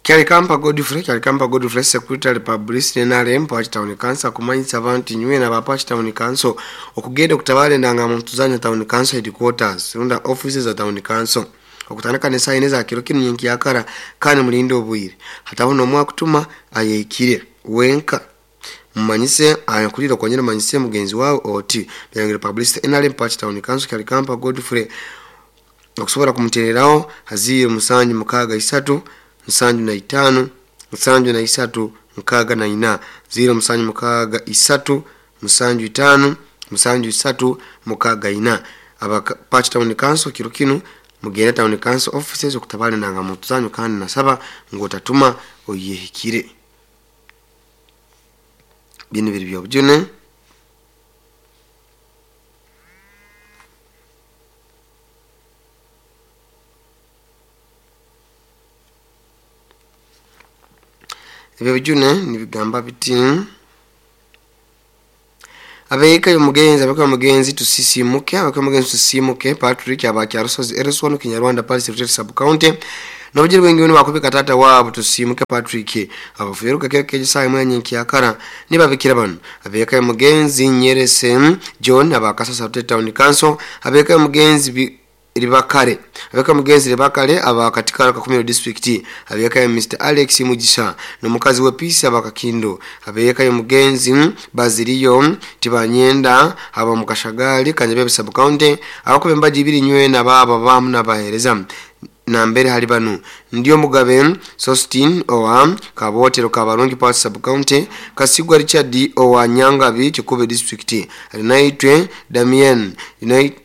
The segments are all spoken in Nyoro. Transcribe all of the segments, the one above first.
Kyalikampa Godfrey, Kyalikampa Godfrey, Secretary Publicity NRM Pachi Town Council kumanyisa abantu nywe na Pachi Town Council okugenda okutabala endangamuntu zanyu Town Council headquarters runda offices za Town Council okutandika n'esaaha ina za kiro kinu nyenkyakara kandi mulinde obwire hataho n'omwe akutuma ayehikire wenka mumanyise akulire okonyera manyise mugenzi wawe oti Byarangire Publicity NRM Pachi Town Council Kyalikampa Godfrey okusobola kumutereraho haziire 763 75 73 64 0 763 75 73 64 aba Pachi Town Council kiro kinu mugende Town Council offices okutabala endangamuntu zanyu kandi nasaba ngu otatuma oyehikire. Binu biri byobujune. Ebyo bijune nibigamba biti abeeka y'omugenzi, abeeka y'omugenzi tusisimuke, abeeka y'omugenzi tusisimuke Patrick abakyarusozi Ereswanu Kinyarwanda Parish Rutete Sub County n'obujiri bwingi bakubika tata wabo tusimuke Patrick abafuyeruka kero kejo saa imwe nyenkyakara nibabikira bano abeeka y'omugenzi Nyerese John abakasasa Rutete Town Council abeeka y'omugenzi Ribakare abeka mugenzi Ribakare aba katika Kakumiro district abeka ya Mr Alex Mugisha n'omukazi we Peace abakakindo abeka ya mugenzi Baziriyo Tibanyenda aba mukashagali Kanyabebe sub county abakube mbaji ibiri nywe na baba bamu nabahereza nambere hali banu ndio Mugabe Sostin owa Kabotero Kabarungi Park sub county Kasigwa Richard owa Nyangabi Kikube district Alinaitwe Damien United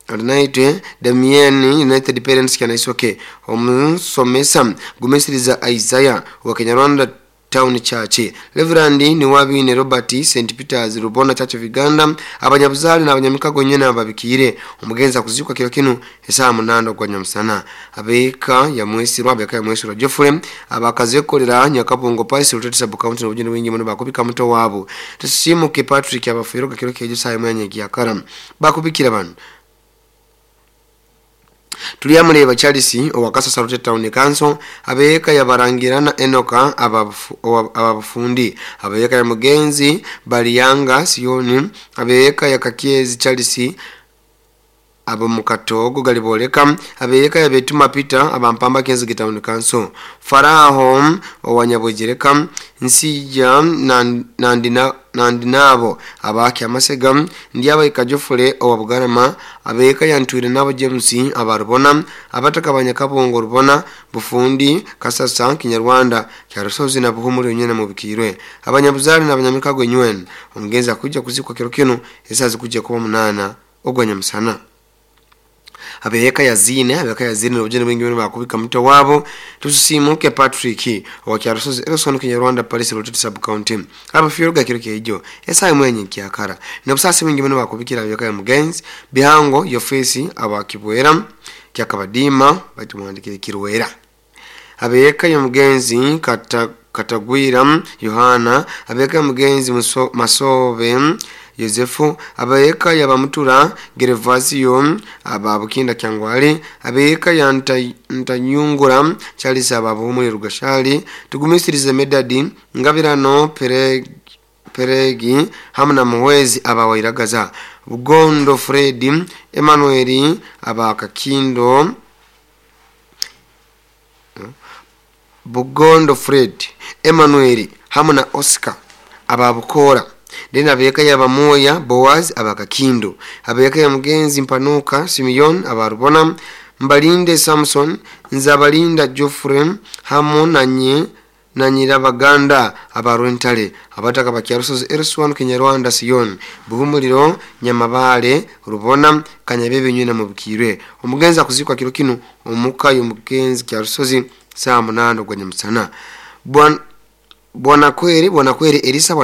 Alinaitwe Damien United Parents Kyanaisoke omusomesa Gumisiriza Isaiah wa Kinyarwanda Town Church Reverend Niwabine Robert St Peters Rubona Church of Uganda abanyabuzali n'abanyamikago nyene ababikire omugenzi akuzikwa kiro kinu esaa 8 gwa nyamusana abeka ya mwesirwa abeka ya mwesirwa Geoffrey abakazekolera Nyakabungo Parish Rutete sub county n'obujuni bwingi muno bakubika muto wabo tusimuke Patrick abafuiruka kiro kejo saa 1 nyekyakara bakubikira bano Tuliyamuleba Charles owakasasa Rutete Town Council abeeka yabarangirana Enoka ababufundi abeeka ya mugenzi Baliyanga Sioni abeeka ya Kakyezi Charles abo mukatogo galiboleka abeeka ya Betuma Peter abampamba Kenzige Town Council Faraho owanyabwejereka Nsija nandinabo abaki amasega ndiaba ikajofule owabugarama abeeka yantwire nabo James abarubona abataka banyakabongo rubona bufundi Kasasa Kinyarwanda Kyarusozi na Buhumuri nyene mubikirwe abanyabuzali n'abanyamikago nywen omugenzi akujja kuzikwa kiro kinu esazi kujja kuba 8 ogwa nyamusana abeka ya zine n'obujene bwingi bakubika muto wabo tusimuke Patrick wa Kyarusozi Erison Kinyarwanda Parish Rutete sub county abafiruga kiro kejo esaa mwenye kyakara n'obusasi bwingi bakubikira abeka ya mugenzi Bihango Yofesi abakibwera kyakabadima batumwandikire kirwera abeka ya mugenzi Katagwira Yohana abeka ya mugenzi Masobe Yosefu abeeka ya bamutura Gervasio ababukinda Kyangwali abeeka ya Ntanyungura Charles ababuhumuri Rugashali tugumisirize Medadi Ngabirano Peregi hamwe na Muhwezi abawairagaza Bugondo Fred Emmanuel abakakindo Bugondo Fred Emmanuel hamwe na Oscar ababukora Dena abeka ya bamoya Boaz abakakindo abeka ya mugenzi Mpanuka Simeon abarubona Mbalinde Samson Nzabalinda Geoffrey hamu na Nyirabaganda abarwentale abataka bakyarusozi Erswan Kinyarwanda Sion Buhumuriro Nyamabale Rubona Kanyabebe nyina mubikirwe omugenzi akuzikwa kiro kinu omuka y'omugenzi Kyarusozi saa 8 gwa nyamusana Bwana Kweri Elisa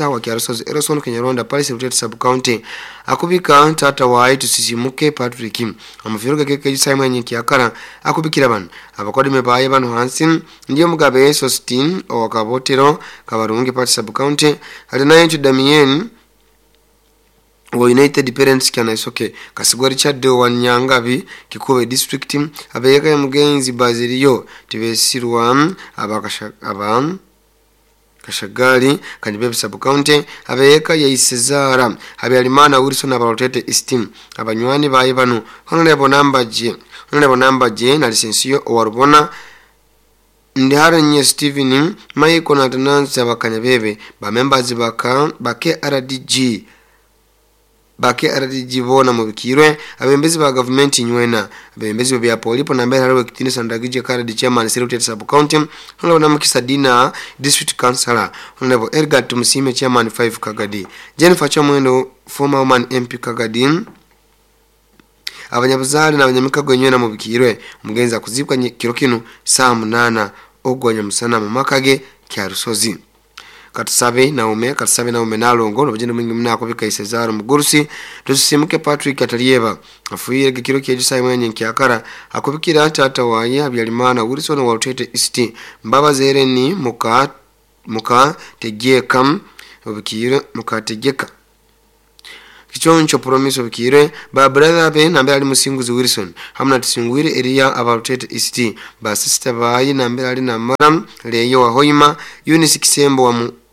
wa Kyarusozi Erison Kinyarwanda Parish Rutete sub county akubika tata wae tusisimuke Patrick amufiruka keke Simon Nyikyakara akubikira bano abakodime baye bano hansi ndiyo Mugabe Sostin owakabotero Kabarungi Parish sub county alinayo Damien Wa United Parents Kyanaisoke Kasigwa Richard wa Nyangabi Kikube District abeyeka ya mugenzi Bazilio Tibesirwa aba Kashagali Kanibebe Sub County abeyeka ya Isezara Habyarimana Wilson abalotete East abanywani baye bano Honorable Namba J na Lisensiyo owarubona Ndiharenye Steven Michael na Tanansi abakanyabebe ba members bake RDG bake RDG bona mubikirwe abembezi ba government nywena abembezi bya polipo na mbere hariwe kitinisa ndagije karadi chairman Serutete Sub County Honorable Namukisa Dina District Councilor Honorable Edgar Tumusime chairman 5 Kagadi Jennifer Chomwendo former woman MP Kagadi abanyabuzali n'abanyamikago nywena mubikirwe omugenzi akuzibwa kiro kinu saa 8 ogwanya musana mu makage kya Rusozi. Katusabe Naume nalongo nobujeni mwingi mnako bika Isezaro Mugurusi tusimuke Patrick Atalieba afuire kiro kyejo sai mwenye nkyakara akubikira tata waye Habyarimana Wilson wa Rutete East Mbabazi Ereni muka tegeka obikire mukategeka Kichoncho Promise obikire ba brother be nambere ali Musinguzi Wilson hamna tusingwire area abalutete East ba sister bayi nambere ali namara leyo wa Hoima Eunice Kisembo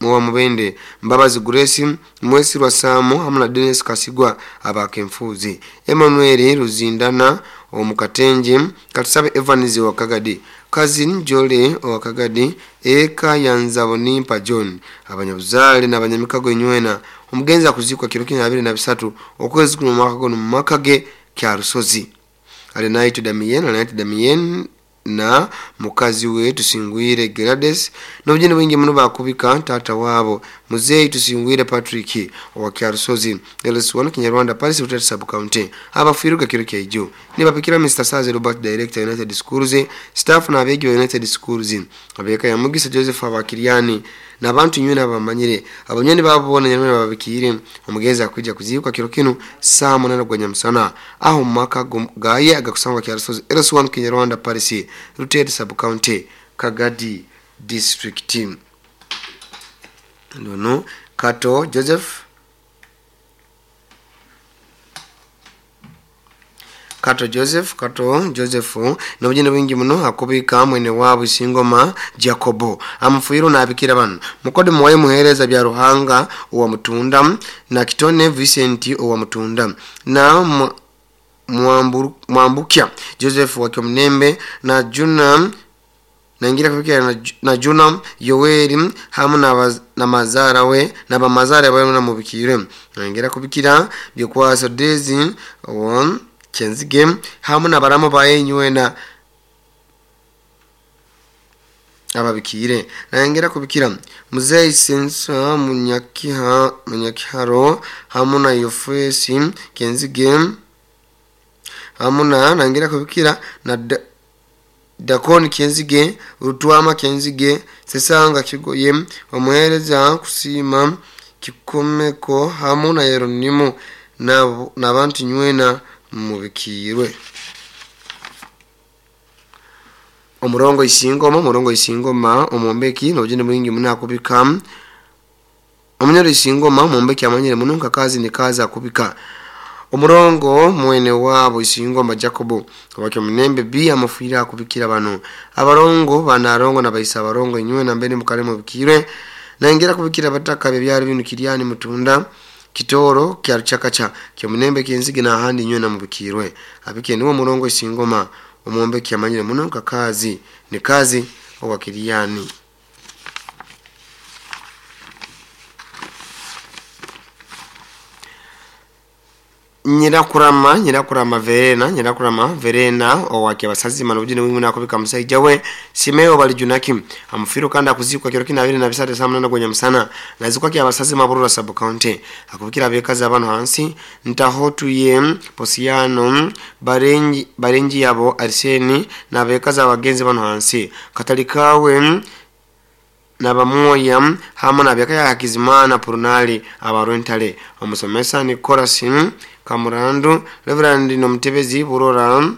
wa Mubende Mbabazi Grace Mwesirwa Samu hamna Dennis Kasigwa abakemfuzi Emmanuel Ruzindana omukatenje Katusabe Evans wa Kagadi Cousin Jole wa Kagadi eka yanzabo nimpa John abanyabuzale n'abanyamikago nywena omugenzi akuzikwa kiro kina 23 okwezi kuno mwaka gono makage kya Rusozi. Alinaitwa Damien na mukazi we Tusingwire Gerades n'obujeni bwingi muno bakubika tata wabo Muzeyi Tusingwire Patrick wa Kyarusozi LS1 Kinyarwanda Paris Rutete Sub County abafiruka kiro kyaijo nibapikira Mr. Saze Robert Director United Schools staff na abegi wa United Schools abeka ya Mugisa Joseph abakiriani n'abantu nywena abamanyire abanyoni babona nywena babikire omugenzi akwijja kuzikwa kiro kinu saa 8 gwa nyamusana aho maka gaye agakusangwa Kyarusozi LS1 Kinyarwanda Paris Rutete Sub County Kagadi District. Ndono Kato Joseph n'obujeni bwingi muno akubika mwene wabo Isingoma Jacobo amufuiro n'abikira bano mukode muwaye muhereza bya Ruhanga uwa Mutunda na Kitone Vincent uwa Mutunda na Mwambukya Joseph wa Kyomnembe na Juna naingira kufikira na Juna Yoweri hamu na mazara we na bamazara we na mubikire naingira kubikira byokwasa Dezi wa Kenzige hamu na baramo bayenywe na ababikire naingira kubikira Muzeyi Sensa Munyakiharo hamu na Yofesi Kenzige hamuna nangira kubikira na Dakoni Kenzige Rutwama Kenzige Sesanga Kigoye omuhereza kusima Kikomeko hamu na Yeronimo n'abantu nywena mubikirwe. Omurongo Isingoma omumbeki n'obujeni bwingi munakubika omunyoro Isingoma omumbeki amanyire muno nkakazi ni kazi akubika omurongo mwene wabo Isingoma Jacobo wakyo Mnembe B amafuira akubikira bano abarongo banarongo nabaisa abarongo inywe na mbere mukale mubikire naingira kubikira bataka byari binu Kiriani Mutunda Kitoro kya Ruchakacha kyo Mnembe Kenzige na ahandi inywe na mubikirwe abike niwo murongo Isingoma omumbeki amanyire muno nkakazi ni kazi owa Kiriani. Nyirakurama Verena owake basazi manubujini mwingi nakubika musaija we Simeo Balijunaki amufiro kanda akuzikwa kiro kina 23 saa 8 gwa musana nazikwa kya basazi maburura Sub County akubikira abekazi abantu hansi ntahotu ye Posiano Barenji yabo Arseni na abekazi abagenzi bano hansi Katalikawe nabamoya hamwe nabeka ya Hakizimana Purunali abarontale omusomesa ni Korasin Kamurandu Reverend Nomtebezi Burora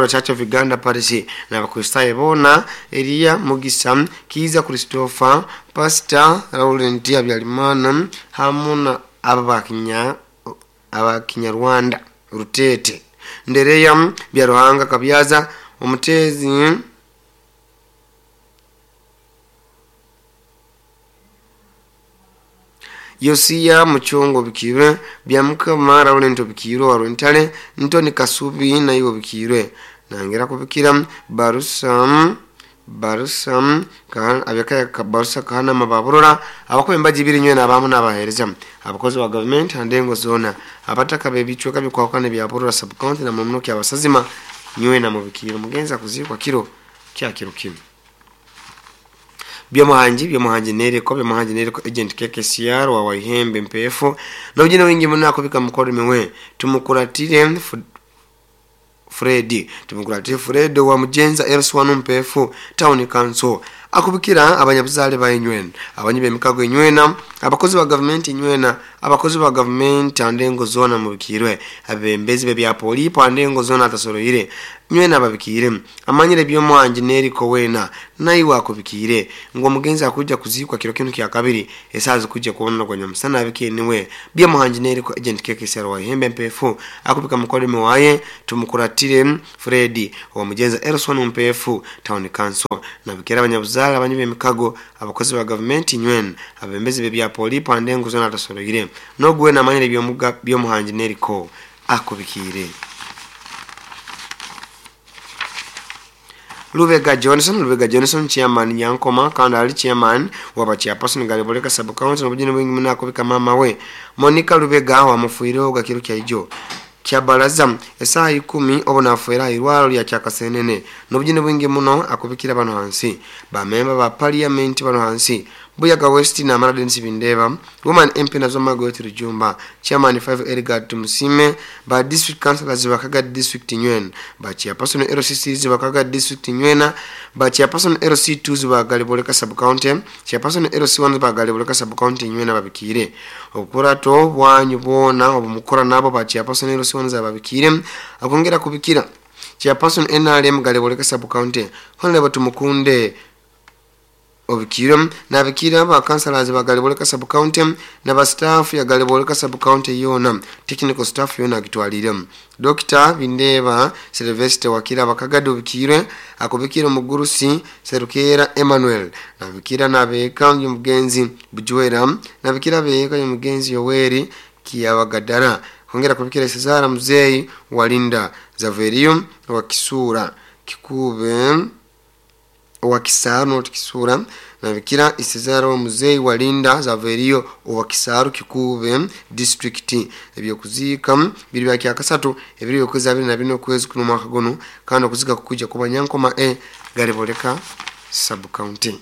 Church of Uganda Paris na bakristaye bona Elia Mugisa Kiza Christopher Pastor Laurent Habyarimana hamwe Abakinyarwanda Rutete Ndereya Byaruhanga Kabyaza Omutezi Yosia Muchongo Bikirwe Byamukama Laurent Bikirwe wa Rwentale Ntoni Kasubi na iwo Bikirwe nangera kubikira Barusam kan abeka Barusa kana mababurora abakwemba jibiri nywe nabamu nabahereza abakozi wa government andengo zona abataka bebichweka bikwakana bya Burora sub county na mumno kya basazima nywe na mubikiro mugenza kuzikwa kiro kya kiro kimwe. Byamuhanji nereko byamuhanji nereko agent KKCR wa Waihembe Mpefu na ujina wingi munako bika mukoro miwe tumukuratire Freddy tumukuratire Fred wa Mujenza Elswan Mpefu Town Council akubikira abanyabuzale ba inywena abanyibe mikago inywena abakozi ba government inywena abakozi ba government andengo zona mubikirwe abembezi be bya polipo andengo zona atasoroire nywena babikire amanyire byomuhanji neriko wena naiwe akubikire ngo mugenzi akuja kuzikwa kiro kinu kya kabiri esazi kuja kubona kwa nyamusana abike niwe byomuhanji neriko agent KKCR wa Hembe Mpefu akubika mukolime waye tumukuratire Freddy wa Mujenza Elson Mpefu Town Council nabikira abanyabuzala abanyibe mikago abakozi ba government nywena abembezi be bya polipo andengo zona atasoroire nogwe namanyire byomuga byomuhanji neriko akubikire. Lubega Johnson chairman Nyankoma kandi ali chairman waba chairperson Galiboleka sub county n'obujini bwingi munako bika mama we Monica Lubega wa mufuiro gakiro kya ijo kya baraza esaha 10 obona afuera irwalo lya kyakasenene n'obujini bwingi muno akubikira bano hansi ba member ba parliament bano hansi Buyaga West na Maradensi Bindeba Woman MP nazo Margaret Rujumba chairman 5 Edgar Tumusime ba district councillors bakaga district nywena ba chairperson LCCs bakaga district nywena ba chairperson LC2 ba Galiboleka sub county chairperson LC1 ba Galiboleka sub county nywena babikire okurato bwanyu bona obumukora nabo ba chairperson LC1 za babikire akongera kubikira chairperson NRM Galiboleka sub county honorable Tumukunde obikira nabikira ba councillors ba Galiboleka sub county na ba staff ya Galiboleka sub county yona technical staff yona kitwalire Dr. Bindeba Sylvester wakira bakagado bikire akubikira mugurusi Serukera Emmanuel nabikira nabeka y'umugenzi Bujwera nabikira beka y'umugenzi Yoweri Kiyabagadara kongera kubikira Cesar Mzei Walinda Zaverium wa Kisura Kikube wa Kisaru Kisura nabikira Isezaro Muzei Walinda Zaverio wa Kisaru Kikube district ebyo kuzika biri bya kyakasatu ebiri yokwezi 24 kwezi kuno mwaka gono kandi okuzika kukuja kuba Nyankoma Galiboleka sub county.